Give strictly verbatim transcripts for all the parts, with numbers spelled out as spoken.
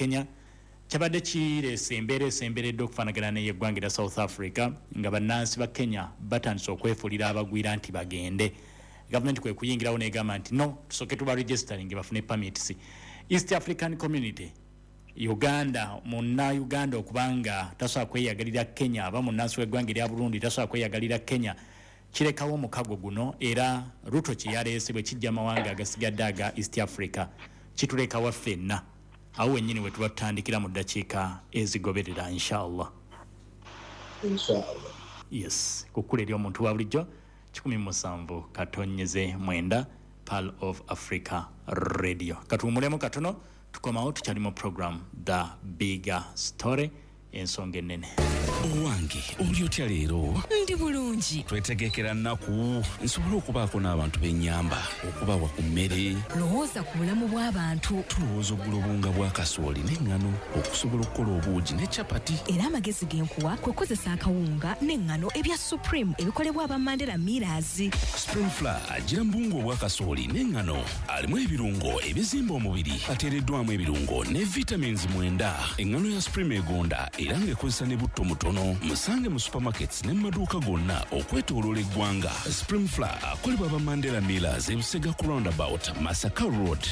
Kenya. Kyabadde kireese embeera esemberedde okufaanagana n'eyeggwanga erya South Africa, nga bannansi ba Kenya batandise okwefuulira abagwira nti bagende. Gavumenti kwe kuyingirawo n'egamba nti no, tusooke tuba registering bafune permits. East African Community, Uganda, munnauganda okubanga tasobola kweyagalira Kenya, aba munnansi w'eggwanga erya Burundi tasobola kweyagalira Kenya, kirekawo omukago guno. Era Ruto kyeyaleese bwe kijja amawanga agasigadde aga East Africa, kitulekawa ffenna? Awo wennyini we tuba tutandikira mu ddakiika ezigoberera, inshallah. Inshallah. Yes, kukkula eri omuntu wa bulijjo, kikumi mu musanvu katonyeze mwenda, Pearl of Africa Radio. Katuwumulemu katono, tukomawo tukyali mu program The Bigger Story, ensonga ennene. Owange, oli otya leero? Ndi bulungi. Twetegekera nnaku nsobole okubaako n'abantu b'ennyamba, okubawa ku mmere. Lowooza ku bulamu bw'abantu. Tulowooza ogula obuwunga bwa kasooli n'eŋŋano okusobola okukola obuugi ne capati. Era amagezi ge nkuwa kwe kukozesa akawunga n'eŋŋano ebya Supreme ebikolebwa aba Mandela Millers. Supreme Flour agira mu buwunga obwa kasooli n'eŋŋano, alimu ebirungo ebizimba omubiri, ateereddwamu ebirungo ne vitamins mwenda. Eŋŋano ya Supreme egonda era ng'ekozesa ne butto mutono. Musange mu supermarkets ne mu maduuka gonna okwetooloola eggwanga. Supreme Flour akolebwa aba Mandela Millers, ebusega ku roundabout, Masaka Road.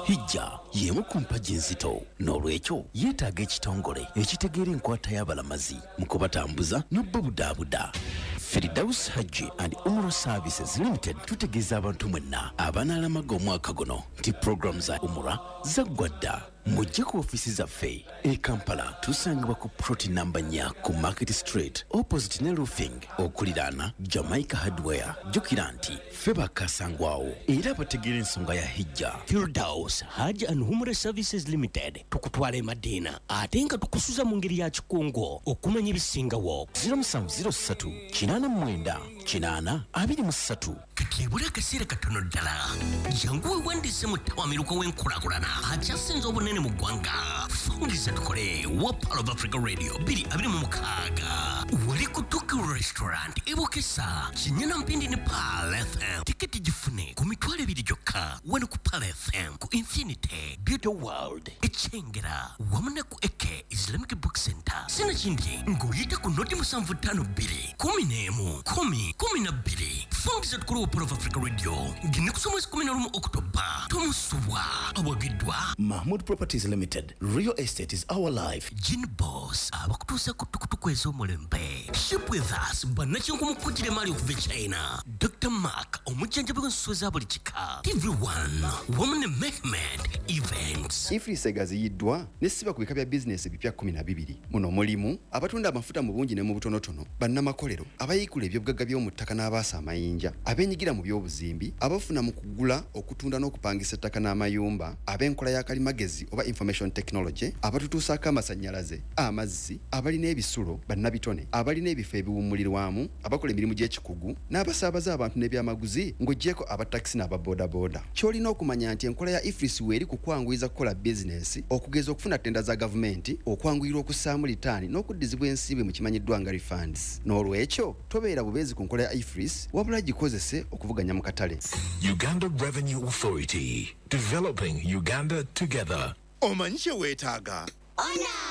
Hijja y'emu ku mpagi enzito, n'olwekyo yeetaaga ekitongole ekitegeera enkwata y'abalamazi mu kubatambuza n'obbabudaabuda. Firdaus Hajji and Umrah Services Limited tutegeeza abantu mwenna abanaalamaga omwaka guno nti puroguramu za umura zaggwa dda. Mujje ku ofiisi zaffe e Kampala, tusangibwa ku plot namba nnya ku Market Street, opposite ne Roofing, okuliraana Jamaica Hardware. Jjukira nti ffe bakasangwawo era bategeera ensonga ya hijja. Firdaus Hajj and Umrah Services Limited, tukutwala e Madiina ate nga tukusuza mu ngeri ya kikungo. Okumanya ebisingawo, zero seven zero three eight nine eight eight two three. Kati ebula akaseera katono ddala, jangu weewandiise mu ttawamiruka w'enkulaakulana akyasinze obunene mu ggwanga, Fungiza Tukole wa Pearl of Africa Radio twenty twenty-six, wali ku Tokyo Restaurant ebukesa Kinyana Mpindi ne Pearl F M. Tiketi gifune ku mitwalo ebiri gyokka wano ku Pearl F M, ku Infinity Beauty World ekyengera, wamu ne ku Eke Islamic Book Center. Sinakindi ng'oyita ku noti musanvu ttaano bbiri kumi n'emu kumi kumi na bbiri. Fungiza Tukole wa Pearl of Africa Radio ng'ennaku z'omwezi kumi na lumu Okutoba, tomusubwa. Awagiddwa Mahmood Properties Limited. Real estate is our life. Gin Boss, abakutuusa ku tukutuku ez'omulembe. Ship with us, bannakinku kugira emaali okuva e China. Doctor Mark, omujjanjabi w'ensuwa za buli kika. T V one wamu ne Mehmed Events. EFRIS egaziyiddwa nesiba ku bika bya bizinesi ebipya kkumi na bibiri. Muno mulimu abatunda amafuta mu bungi ne mu butonotono, bannamakolero, abayiikula ebyobugagga by'omu ttaka n'abaasa amayinja, abeenyigira mu by'obuzimbi, abafuna mu kugula, okutunda n'okupangisa ettaka n'amayumba, ab'enkola ya kalimagezi oba information technology, abatutuusaako amasannyalaze, amazzi, abalina ebisulo, bannabitone, abalina ebifo ebiwummulirwamu, abakola emirimu gy'ekikugu n'abasaabaza abantu n'ebyamaguzi, ng'oggyeko abatakisi n'ababoodabooda. Ky'olina okumanya nti enkola ya EFRIS weeri ku kwanguyiza kukola bizinesi, okugeza okufuna tenda za gavumenti, okwanguyirwa okussaamu litaani n'okuddizibwa ensimbi mu kimanyiddwa nga refunds. N'olwekyo tobeera bubeezi ku nkola ya EFRIS, wabula gikozese okuvuganya mu katale. Uganda Revenue Authority. Developing Uganda together. Omanyi kye weetaaga?